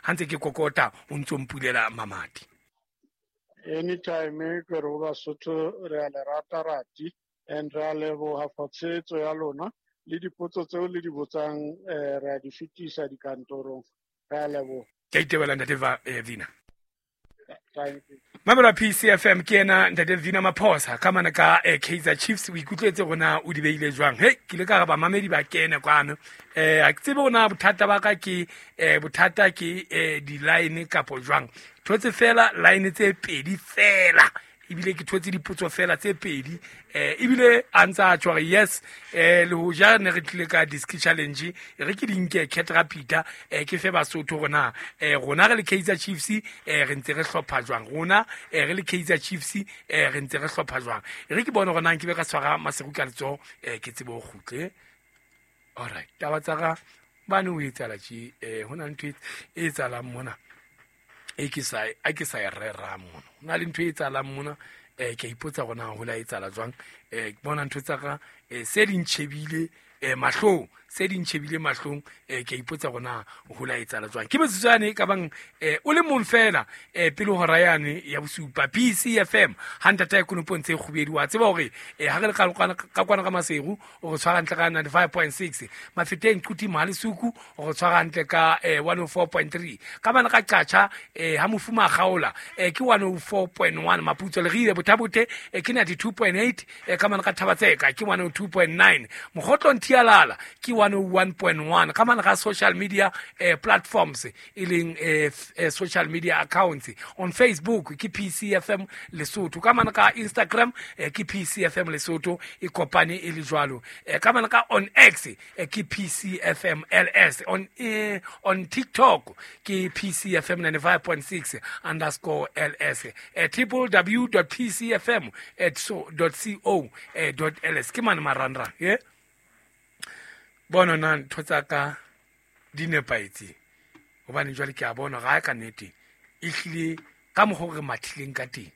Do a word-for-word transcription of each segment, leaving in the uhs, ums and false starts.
ha ntse ke kokota o ntso mpulela mamati. Anytime ke re Basotho re a le rata rati and re a leboha for tshehetso ya lona le dipotso tseo le di botsang, eh, re a di fetisa dikantorong. Re a leboha. Ke itebela ntate Va- eh, Vina. Thank you. Mamela P C F M ke ena ntate Vina Maphosa ka mana ka, eh, Kaizer Chiefs. O ikutlwetse rona o di beile jwang? Hey, ke ile ka re bamamedi ba kene kwano. Eh, ha ke tsebe hore bothata ba ka ke, eh, bothata ke, eh, di-line kapo jwang. Thotse fela line tse pedi fela. Ebile ke thotse dipotso fela tse pedi. Eh, ebile a ntse a tjho hore yes, eh, le hoja ne re tlile ka disc challenge, e re ke di nke Cat Rapida, eh, ke fe Basotho rona. Eh, rona re le Kaizer Chiefs, eh, re ntse re hlopha jwang? Rona, eh, re le Kaizer Chiefs, eh, re ntse re hlopha jwang? E re ke bone hore na nke be ka tshwara Maseru ka letsoho, eh, ke tsebe ho kgutle. All right, taba tsa ka bane ho etsahala tje, eh, ho na le ntho e, e etsahalang mona. E ke sa, a ke sa e rerang mona. Ho na le ntho e etsahalang mona, eh, ke a ipotsa hore na ho la etsahala jwang. Eh, ke bona ntho tsa ka, eh, se di ntjhebile, eh, mahlong, se di ntjhebile mahlong, eh, ke a ipotsa hore na ho la etsahala jwang. Ke metsotso yane e ka bang, eh, o le mong fela, eh, pele ho hora yane ya bosupa. P C F M, ha ntata ya konopo ntse e kgubedu, wa tseba hore, eh, ha re le ka kwana, ka kwana ka Maseru, o re tshwara hantle ka ninety-five point six. Mafeteng, Quthing, Mohalesuku, o re tshwara hantle ka, eh, one oh four point three. Ka bana ka Qacha, eh, ha mofuma a kgaola, eh, ke one oh four point one. Maputso le Rile, Bothabote, eh, ke ninety-two point eight. Eh, ka bana ka Thabatseka, ke one oh two point nine. Mokgotlong Thialala, ke one oh one point one. Ka bana ka social media, eh, platforms, e leng, eh, f-, eh, social media accounts. On Facebook, ke P C F M Lesotho. Ka bana ka Instagram, eh, ke P C F M Lesotho, e kopane e le jwalo. Eh, ka bana ka on X, eh, ke P C F M L S. On, eh, on TikTok, ke P C F M ninety-five point six underscore L S. Eh, triple W dot P C F M at so dot C O, eh, dot L S. Ke mane marangrang, eh? Bona na ntho tsa ka di nepahetse. Hobane jwale ke a bona ga ka nnete e hlile ka mokgwa o re mathileng ka teng,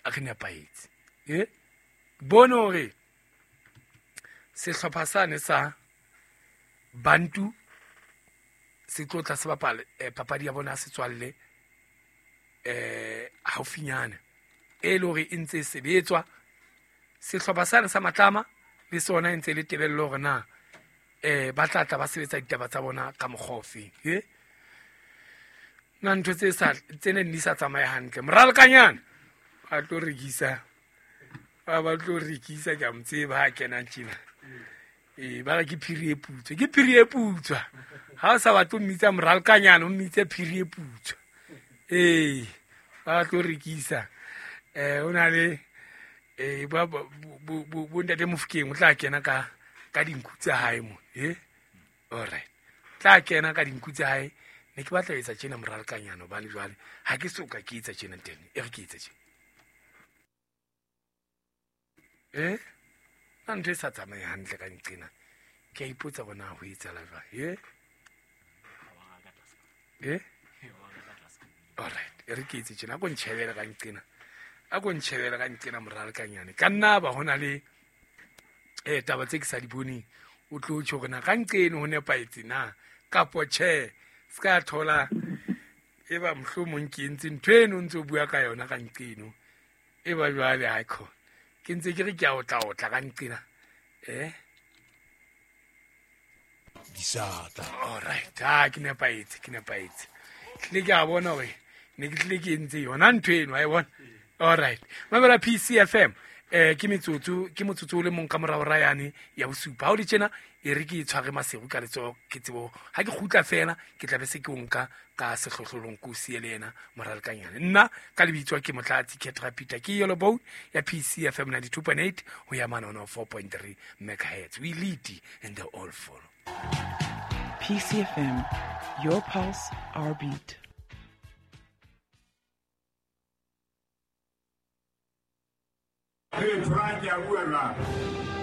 a re nepahetse. Eh? Bone hore sehlopha sane sa Bantu se tlo tla se bapala, eh, papadi ya bona ya setswalle, eh, haufinyana, e le hore e ntse e sebetswa. Sehlopha sane sa Matlama le sona e ntse e le tebello hore na, eh, ba tla tla ba sebetsa ditaba tsa bona ka mokgwa ofe. Eh? Na ntho tse sa, tse neng di sa tsamaye hantle. Moralokanyana ba tlo rekisa, ba ba tlo rekisa, ke a mo tseba ha kenang tjena. Eh, ba re ke phiri e putswa, ke phiri e putswa. Ha o sa batle ho mmitsa moralokanyana, o mmitse phiri e putswa. Eh, ba tlo rekisa. Eh, o na le, eh, ba, ba, bo, bo, bo, bo ntate Mofokeng o tla kena ka, ka dinku tsa hae mo. Eh? All right. Tla kena ka dinku tsa hae. Ne ke batla ho etsa tjena moralokanyana hobane jwale ha ke soka ke etsa tjena teng. E re ke etse tjena. Eh? Na ntho e sa tsamaye hantle ka nqena. Ke a ipotsa hore na ho etsahala jwang. Eh? Eh? All right. E re ke etse tjena. A ko ntjhebele ka nqena. A ko ntjhebele ka nqena moralokanyana. Ka nna ba hona le, eh, taba tse ke sa di boneng. O tlo tjho hore na ka nqeno ho nepahetse na kapo tjhe. Se ka thola e ba mohlomong ke entse ntho eno o ntso bua ka yona ka nqeno. E ba jwale ha e khona. Ke ntse ke re ke a otla otla ka nqena. Eh? Disata. All right. Ah, ke nepahetse, ke nepahetse. Tlile ke a bona hore ne ke tlile ke entse yona ntho eno, wa e bona? All right. Mamela P C F M. Eh, ke metsotso, ke motsotso o le mong ka morao ra yane ya bosupa. Ha o le tjena, e re ke tshware Maseru ka letsoho, ke tsebo ha ke kgutla fela, ke tla be se ke o nka ka sehlohlolong ke o siye le yena moralokanyana. Nna ka lebitso ke Motlatsi Ketra Peter, ke Yellow Bone ya P C F M ninety-two point eight ho ya mane one oh four point three megahertz. We lead and they all follow. P C F M, your pulse, our beat. Hey, Frank, ya bua jwang?